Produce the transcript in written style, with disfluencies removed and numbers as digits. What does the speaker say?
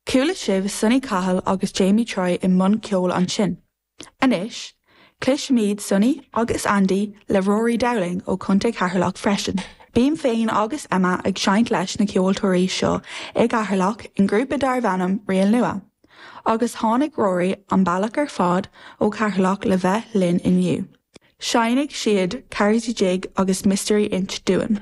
Chuala sibh Sonny Cahill agus Jamie Troy i mbun ceoil ansin. Anois, cloisfimid Sonny agus Andy le Rory Dowling ó Chontae Cheatharlach freisin. Bím féin agus Emma ag seinnt leis na ceoltóirí seo i gCeatharlach i ngrúpa darbh ainm Riail Nua. Agus tháinig Rory an bealach ar fad ó Cheatharlach le bheith linn inniu. Seinnfidh siad Carrotty Jig agus Mystery Inch dúinn.